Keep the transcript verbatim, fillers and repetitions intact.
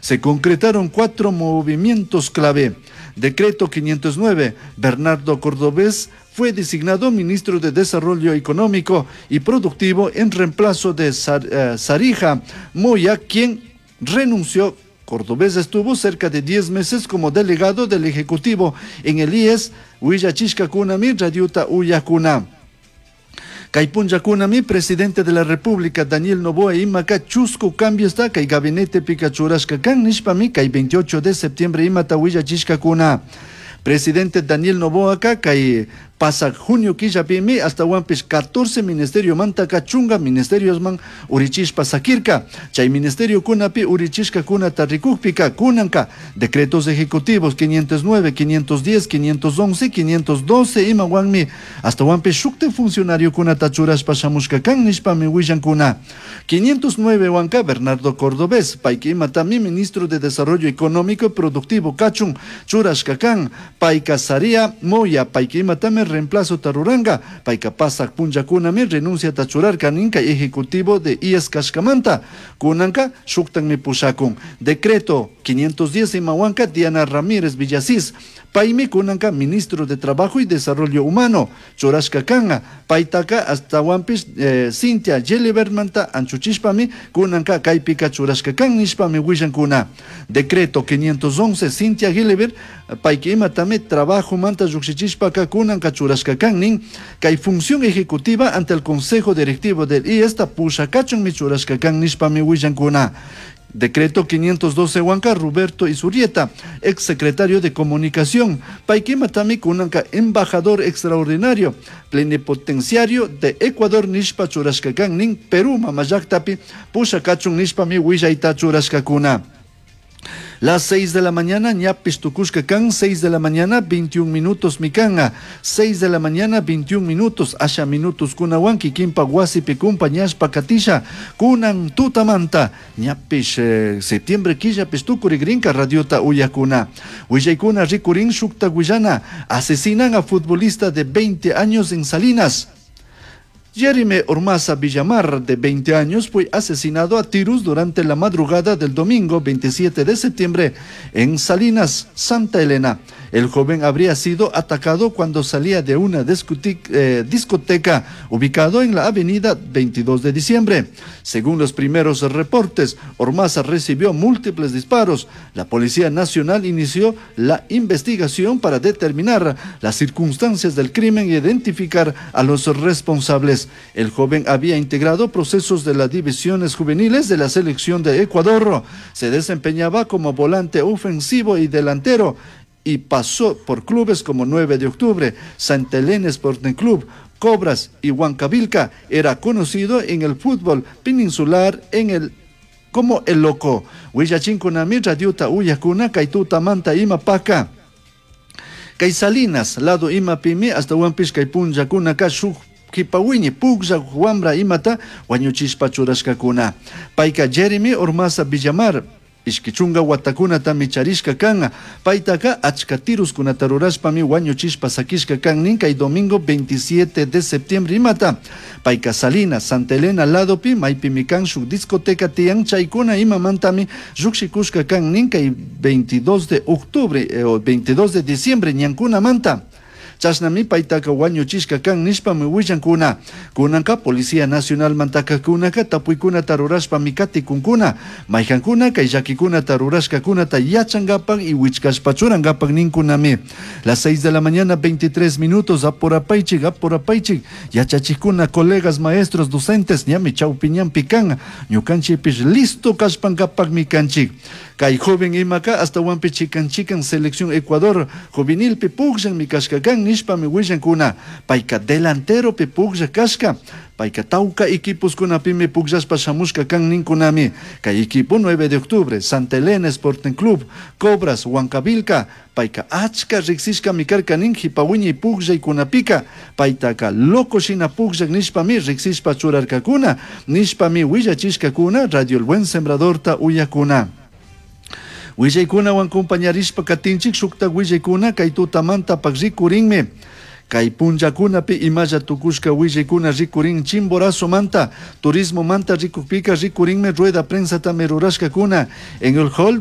Se concretaron cuatro movimientos clave. Decreto quinientos nueve. Bernardo Cordobés fue designado ministro de Desarrollo Económico y Productivo en reemplazo de eh, Sarija Moya, quien renunció. Cordobés estuvo cerca de diez meses como delegado del Ejecutivo en el I E S. Huillachishcacunami radiota uyajcuna. Kay punllakunami presidente de la República Daniel Noboa imaka chusku cambios ta kay gabinete pika churashka kan nishpami kay veintiocho de septiembre imata huillachishkakuna. Presidente Daniel Noboa kay pasak junio killapimi ashtahuanpish catorce ministerio mantaka chunga ministeriosman urichishpa sakirka. Chay ministerio kunapi urichishkakunata rikukpika kunanka decretos ejecutivos quinientos nueve, quinientos diez, quinientos once, quinientos doce imawanmi ashtahuanpish shukti funcionario kunata churashpa shamushka kan nishpami willankuna. quinientos nueve wanka Bernardo Cordobés, payka imatami ministro de Desarrollo Económico y Productivo kachun churashka kan. Payka Saria Moya, payka imatami reemplazo taruranga, payka pasak punllakunami renuncia churarka nin kay ejecutivo de I E S kashkamanta, kunanka shuktanmi pushakun. Decreto quinientos diez imawanka Diana Ramírez Villasís, paymi kunanka ministro de Trabajo y Desarrollo Humano churashka kanga, paytaka ashtahuanpish eh, Cintia Gillibertmanta anchuchishpami kunanka kaypika churashka kan nishpami willankuna. Decreto quinientos once, Cintia Gilibert, payka imatami trabajo manta llukshichishpaka kunanka churashka kan nin kay función ejecutiva ante el Consejo Directivo del I E S pushakachunmi churashka kan nishpami willankuna. Decreto quinientos doce wanka Roberto Izurieta, ex secretario de Comunicación, payka imatami kunanka embajador extraordinario, plenipotenciario de Ecuador nishpa churashka kan nin Perú mamallaktapi pushakachun nishpami willayta churashkakuna. Las seis de la mañana, ñapish tukushka kan, seis de la mañana, veintiún minutos mikanga, seis de la mañana, veintiún minutos, asha minutos kunawan, kikinpa wasipi kumpañashpa katisha, kunan tutamanta, ñapish eh, septiembre killapish tukurigrinka radiota uyakuna. Willaykuna rikurin shukta willana, asesinan a futbolista de veinte años en Salinas. Jeremy Ormaza Villamar, de veinte años, fue asesinado a tiros durante la madrugada del domingo veintisiete de septiembre en Salinas, Santa Elena. El joven habría sido atacado cuando salía de una eh, discoteca ubicado en la avenida veintidós de diciembre. Según los primeros reportes, Ormaza recibió múltiples disparos. La Policía Nacional inició la investigación para determinar las circunstancias del crimen e identificar a los responsables. El joven había integrado procesos de las divisiones juveniles de la selección de Ecuador. Se desempeñaba como volante ofensivo y delantero y pasó por clubes como nueve de Octubre, Santa Elena Sporting Club, Cobras y Huancavilca. Era conocido en el fútbol peninsular en el como el Loco. Huillachinkunami radiota uyakuna kay tutamanta ima paka. Kay Salinas, lado imapimi ashtahuanpish kay punllakunaka shuk kipawiñi puklla wambra imata wañuchishpa churashkakuna. Payka Jeremy Ormaza Villamar, ishki chunga watakunatami charishka kan, paytaka achka tiruskunata rurashpami wañuchishpa sakishka kan nin kay domingo veintisiete de septiembre imata. Payka Salinas, Santa Elena ladopi maypimi kan shuk discoteca tiyan chaykuna imamantami llukshikushka kan nin kay veintidós de octubre eh, o veintidós de diciembre ñankunamanta. Chashnami paytaka wañuchishka kan nishpami willankuna. Kunanka Policía Nacional mantakakunaka tapuykunata rurashpami katikunkuna. Maykankuna kay llakikunata rurashkakunata yachankapak y wichkashpa churankapak ninkunami. Las seis de la mañana, veintitrés minutos, apurapaychik, apurapaychik, yachachikuna, colegas, maestros, docentes, ñami chawpi ñanpi kan, ñukanchikpish listo kashpankapakmi kanchik. Kay joven imaka ashtahuanpi chikan chikan selección Ecuador juvenilpi pukllanmi kashka kan nishpami willankuna. Payka delanteropi puklla kashka. Payka tawka equiposkunapimi pukllashpa shamushka kan ninkunami. Kay equipo nueve de Octubre, Santa Elena Sporting Club, Cobras, Huancavilca, payka achka riksishkami karka nin hipawiñi pukllaykunapika. Paytaka loco shina pukllak nishpami riksishpa churarkakuna, nishpami willachishkakuna Radio El Buen Sembradorta uyakuna. Willaykunawan compañarishpa katinchik shukta willaykuna kay tutamanta pak rikurinmi. Kay punllakunapi imalla tukushka willaykuna rikurin Chimborazo manta, turismo manta rikukpika rikurinmi rueda prensa tami rurashkakuna en el hall.